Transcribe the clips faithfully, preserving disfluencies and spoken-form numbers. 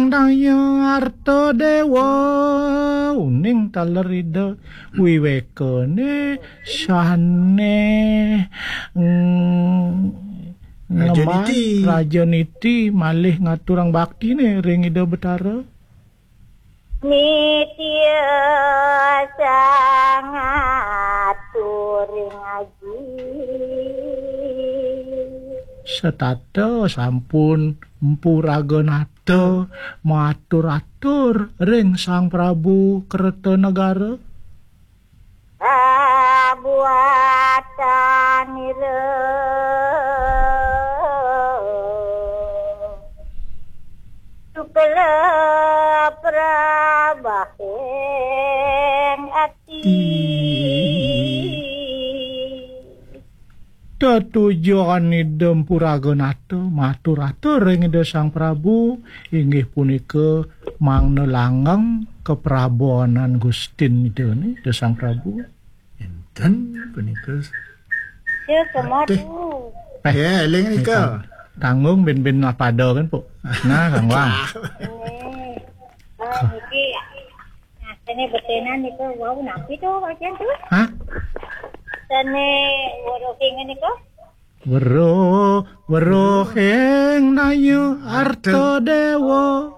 Daya Arta Dewa, uning taler Ida wiwekane sane, mm, Raja ngemban Niti. Raja Niti malih ngaturang baktine ring Ida Betara. Nitya sangat turing aji. Setata sampun Mpu Raga Nata matur-atur ring Sang Prabu Kertanegara. Kabuatan ira sukla prabahing ati. Tetujon Ida Mpu Raga Nata matur-atur ring Ida Sang Prabu, inggih punika mangda langgeng kaprabawanan Gustin Ida ni, Ida Sang Prabu. Enten punika. Ya, semua Teh. Tu. Eh, ya, eling nika. Tanggung ben-ben apada kan, Puk? Nah, Kang Wang. Eh, ah, niki, nah, sene betenan niku, wau, napi tu, Pak Jan, tu? Hah? Sene weruh ing niku? Weruh, weruh ing Daya Arta Dewa.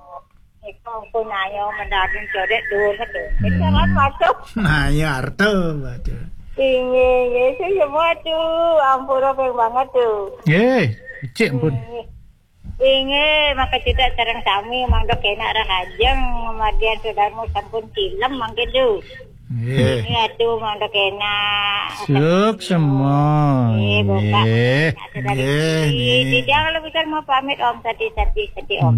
Niku ampun, ayo, mendaging codet dulu tu. Hmm. Jangan masuk. Nah, ya, Arta, baca. Inggih, inggih, sing semua tu, ampura ping banget tu. Nggih, becik ampun. Inggih. Inggih, maka cita sareng sami mangda kenak rahajeng, margian Sudarma sampun tilem mangke tu. Nggih. Inggih, atu mangda kenak. Suksma. Nggih, buka. Nggih. Nggih, nggih. Titiang lebih kan mau pamit, Om, sati, sati, sati, Om.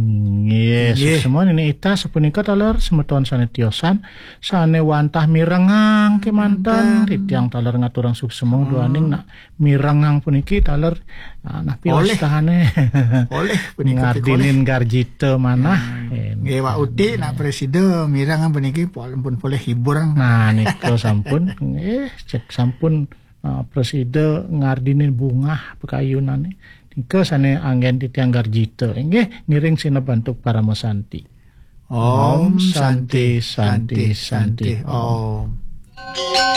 Nggih, nggih. Suksma Nini Ita sapunika taler semeton sane tiosan, sane wantah mirengang kemanten. Manten. Titiang taler ngaturang suksma duaning nak mirengang puniki taler, ah, napi Oleh. Wastane. Oleh punika ngardinin garjita manah. Hmm. Eh, nggih, Wak Uti nak presida mirengang puniki pol-, pun polih hibur. Nah, nika sampun, nggih, cek sampun, ah, presida ngardinin bungah pakayunane. Nika sane anggen titiang garjita. Inggih, ngiring sineb antuk parama santi. Om Santi, Santi, Santi, Om.